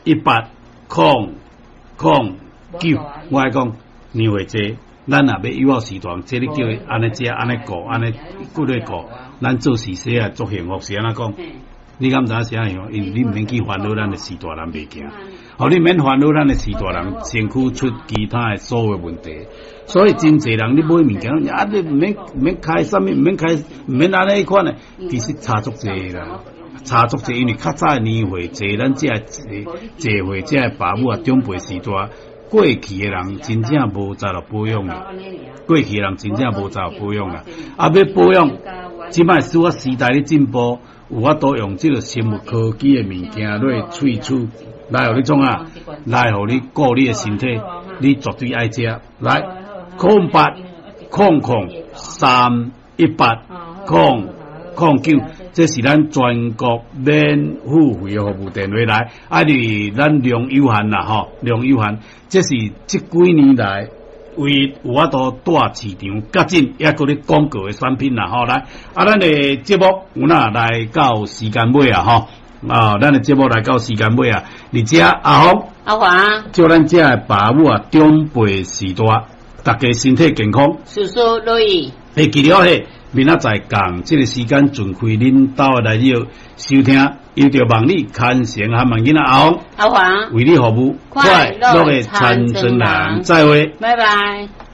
0800318009。我愛講年歲濟，咱若欲幼序大，這你叫伊按呢食，按呢顧，按呢骨咧顧，咱做事勢啊，足幸福是按怎講？你敢知影是按樣？因為你毋免去煩惱咱的序大人袂行，予你免煩惱咱的序大人身軀出其他的所有問題。所以真濟人你買物件，啊你毋免毋免開啥物，毋免開，毋免按呢款的，其實差足濟啦，差足濟，因為較早的年歲濟，咱這濟濟歲這个爸母啊長輩序大過去的人真正無才調保養啦，過去的人真正無才調保養啦，啊欲保養，這擺隨著時代咧進步，有法度用這个生物科技的物件落萃取，來予你創啊？來予你顧你的身體，你絕對愛食。來，0800318009，這是咱全國免付費的服務電話來。啊，因為咱量有限啦，吼，量有限，這是這幾年來唯有法度帶市場較緊，抑閣咧廣告的產品啦，吼來。啊，咱的節目有哪來到時間尾啊，吼。啊，咱的節目來到時間尾啊，佇遮阿福阿華，祝咱遮的爸母啊長輩序大，大家身體健康，事事如意。會記得嘿，明仔載仝這个時間準開恁兜的來日收聽，由著望你牽成和萬囡仔阿福阿華為你服務，快樂樂的田莊人，再會，拜拜。